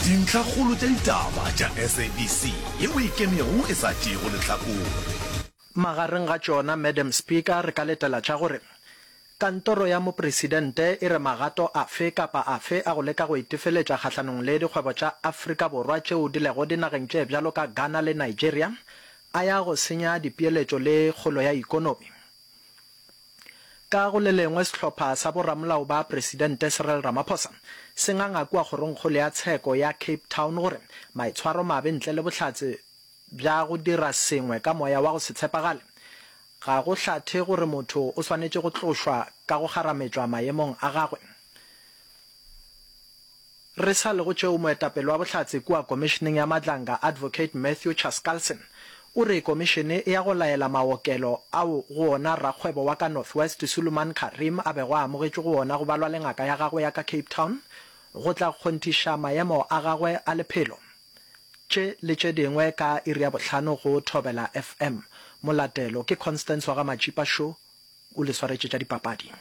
Dintlhakgolo tša ditaba tša SABC yeo e ikemego e sa tšeego lehlakore. Magareng ga tšona, Madam Speaker, re ka letela tša gore Kantoro ya Mopresidente e re magato afe kapa afe a go leka go itefeletša kgahlanong le dikgwebo tša Afrika Borwa tšeo di lego dinageng tše bjalo ka Ghana le Nigeria a ya go senya dipeeletšo le kgolo ya ikonomi. Ka go le lengwe, sehlopha sa boramolao ba Presidente Cyril Ramaphosa se nganga kua Kgorongkgolo ya Tsheko ya Cape Town gore maitshwaromabe ntle le bohlatse bja go dira sengwe ka moya wa go se tshepagale ga go hlathe gore motho o swanetše go tlošwa ka go kgarametšwa maemong a gagwe. Re sa le go tšeo, moetapele wa bohlatse kua Komišeneng ya Madlanga, Advocate Matthew Chaskalson, o re komišene e ya go laela maokelo ao go ona rakgwebo wa ka North West Suleiman Carrim a bego a amogetšwe go ona go balwa le ngaka ya gagwe ya ka Cape Town go tla kgonthiša maemo a gagwe a lephelo. Tše le tše dingwe ka iri ya bohlano go Thobela FM. Molatelo ke Constance wa ga Matšipa Sho o le swaretše tša dipapadi.